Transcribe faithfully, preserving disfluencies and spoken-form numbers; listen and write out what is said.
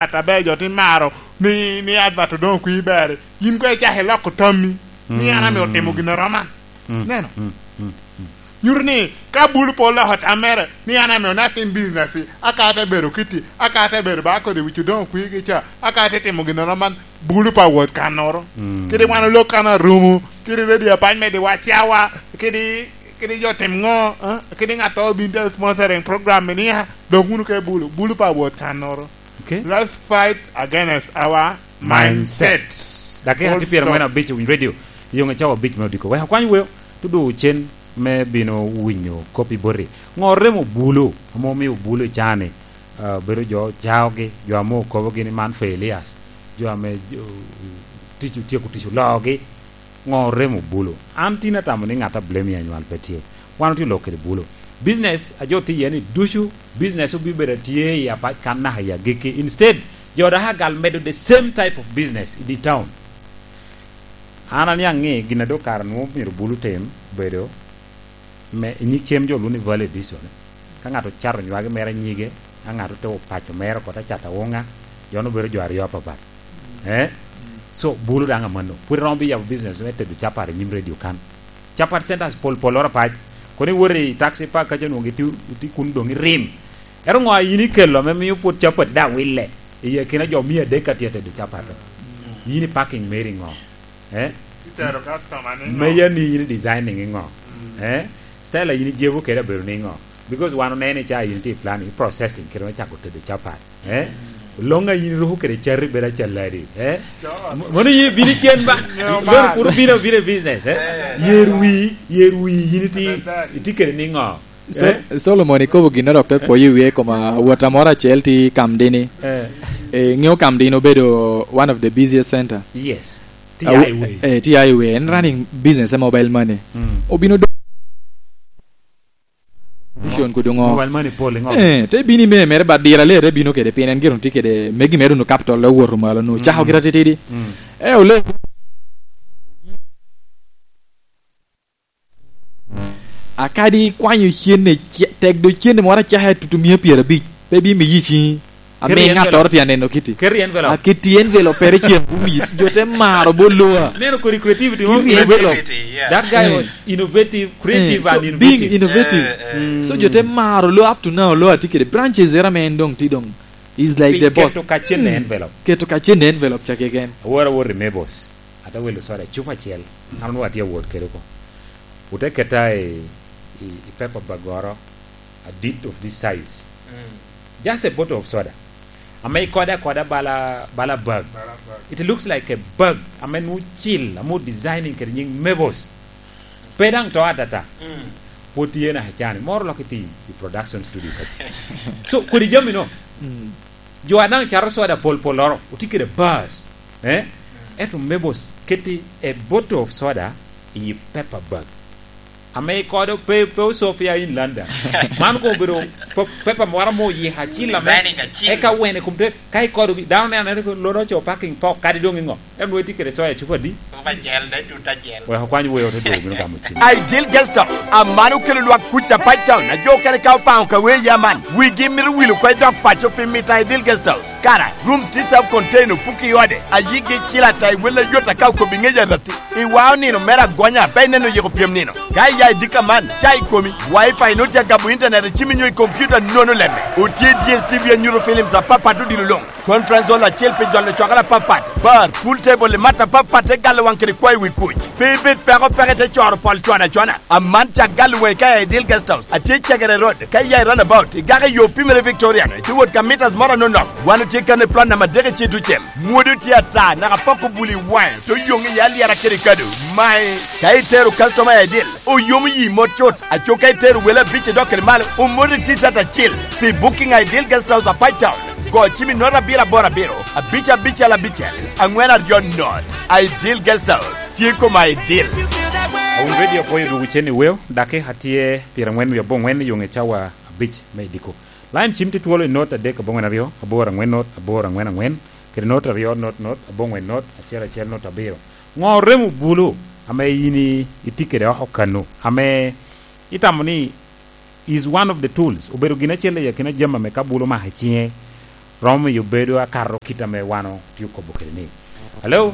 Ŋat aber jo te maro ni, ni advert doŋ okwi ber. Yin koŋ icak iloko tammi ni an ame otimo gin aroman. Mm. Neno? Mm, mm, mm. Nyuto ni ka bulu pe oloko tam mere ni an ame onat in business, aka te bedo kitti, aka te bedo ba kodi wic odoŋ okwigi ca, aka te timo gin aroman, bulu pe awot kannoro. Mm. Kadi wan olok kan arumo, kadi radio apac me diwac cawa, kadi, kadi jo tim ŋo, eh? Kadi ŋat to bin te sponsoring program ni, ah, dok wunu ke bulu, bulu pe awot kannoro. Okay. Let's fight against our mindset. Mindset. Dakika tye pyerangwen abic i Winy Radio. Yoŋe cawa abic me odiko. Wek akwany weo, tudu cen me bino winyo kop i boti. Ŋo remo bulu, ame omio bulu i caa-ni? Ah, bedo jo caogi, jo ame okobogi ni man for Elias, jo ame, jo, tic, otyeko tic oloogi. Ŋo remo bulu? An tin atamo ni ŋat a blame i anywal pe tye. Wan otye lok kede bulu. Business a jo tye iye ni ducu, business obibedo atye i apac kan naka i agikki. Instead, jo dok agal medo the same type of business i di town. An aniaŋ ni gin a dok kara nwoŋo myero bulu tim bedo me i nyig cem jo lwongo ni value addition. Ka ŋat ocato nywagi mere nyige, ka ŋat ote opaco mere oko te cato awuŋa, jo-nu bedo jo aryo apapat. Eh? So, bulu daŋ amanno. Pwod iromo bi yabo business me tedo capat i nyim radio kan. Capat centers pol polloro apac. Kono iwoto i taxi park kaca nwoŋo gitye, itye kun doŋ irim. Ero ŋo a yin ikelo ame mio pwod capat daŋ wille? I akina jo mia adek ka tye tedo capat. Yin i parking meri ŋo? Eh? Itero customer ni ŋo? Meya ni yin i designing i ŋo? Mm. Eh? Style a yin ijebo kede abedo ni ŋo? Because wan oneno i ca yin tye i planning, i processing, kede me cako tedo capat. Eh? Loŋ a yin iruko kede cati bedo acaladi. Eh? Sure. M-, mono yin ibino cen ba? No, lon man. Kur obino, obino i business, eh? Eh. Yer wi, yer wi yin iti-, iti kede ni ŋo? So-, eh? Solomon ikobo gin dok te pwoyo i wie koma wot amoro acel ti Kamdini. Eh. Eh, ŋeo Kamdini obedo one of the busiest center. Yes. Ti highway. Eh, ti highway. En running business e mobile money. Mm. Obino do-, vision kudu ŋo? Mobile money pol ŋo? Eh, te bini me mere ba dira le te bino kede pien en gire tye kede megi mere nu capital le woto malo nu cako gira titidi. Mm. Eh, ole. Akadi ikwanyo cene, ce-, tek do cene moro acaka tutu mia pyerabic, pe bimiyi ciŋi. Ame ŋattoro tye aneno kiti. Keto i envelope. Aketo i envelope pere cen bumi. Jo te maro bo loa. Neno kodi creativity mo. Kiri envelope. Creativity, yeah. That guy was innovative, creative and innovative. Eh, so being innovative. Eh, eh. So jo te maro loa up to now, loa tye kede branches era me en doŋ tye doŋ. He's like the boss. Keto kacen ne envelope. Keto kacen ne envelope ca keken. Awor awor i Mebos. Ate wilo soda cupa acel. An onwoŋo atye awot kede oko. Ote keta i, i, i paper bag oro, a dit of this size. Mm. Just a bottle of soda. Ame ikode akoda bala, bala bag. Bala bag. It looks like a bag. Ame nwoŋo cil, ame designing kede nying Mebos. Pe daŋ to atata. Mm. Pwod tye naka cani. Moro lok iti i production studio kadi. So, kodi jami no. Mm. Jo a daŋ cato soda pol pol oro, otye kede bars, eh? Ento Mebos keto a bottle of soda i paper bag. Ame ikodo pe, pe osofia in London. Man koŋ obedo pe-, paper moro mo yiko acil ame. Designing acil. Eka wene kom te, ka ikodo gi, dano neno ni lono co parking pok kadi doŋ iŋo. En nwoŋo itye kede soya cupa adi? Cupa acel, dai tut acel. Wek okwany weo te dwogo bino gamo cim. Ideal Guest House, aman okelo lwak kuc a Pac Town, a jo okene ka opaŋo ka wee ya man. Wigi mito wil oko i dok paco pi mito a Ideal Guest House. Kara, rooms tye self contained, opuki i ode, a yigi cil ata i wel ayot aka okobi ŋec aratti. I wa onino mere agonya, pe ineno yiko pyem nino. Ka iya i dika man, ca i komi, wifi nwoŋo tye agabo internet i cimi nyo i computer nono lemme. Otye D S T V anyuto films apapat odilo luŋ. Conference hall acel pi jolo cwakere apapat, bar, pool table i mat apapat te galo waŋ kede kwayo wi kuc. Pe ibed peko peke te coro pol cwana cwana. Aman cak galo waŋi ka i Ideal Guest House. Atye i Cegere Road, ka iya i runabout, igako i yo pimere Victorian, itye wot ka meters moro anonok. Wan otye kan i plot namba adek i Citucem. Mwodo tye ata, naka pok obuli waŋe, te oyoŋ iye alyera kede kado. Mae, ka itero customer i Ideal, oyomo yi mot cut. Aco ka itero wele abic idok kede malo, omoti T-shirt acel. Pi booking a Ideal Guest House a Pac Town, go cim i note abiro aboro abiro, abic abicel abicel, aŋwen aryo note. Ideal Guest House, tye koma Ideal. Awun Radio apwoyo dwogo cen i weo, dakika tye pyerangwen wie aboŋwen i yoŋe cawa abic me idiko. Line cim tye twolo i note adek aboŋwen aryo, aboro aŋwen note, aboro aŋwen aŋwen, kede note aryo note note, aboŋwen note, acel acel note abiro. Ŋo remo bulu ame yin i-, itye kede oko kano, ame itamo ni is one of the tools, obedo gin acel i akina jami ame ka bulu omako i ciŋe, romo miyo bedo akato kit ame wan otye okobo kede ni. Hello?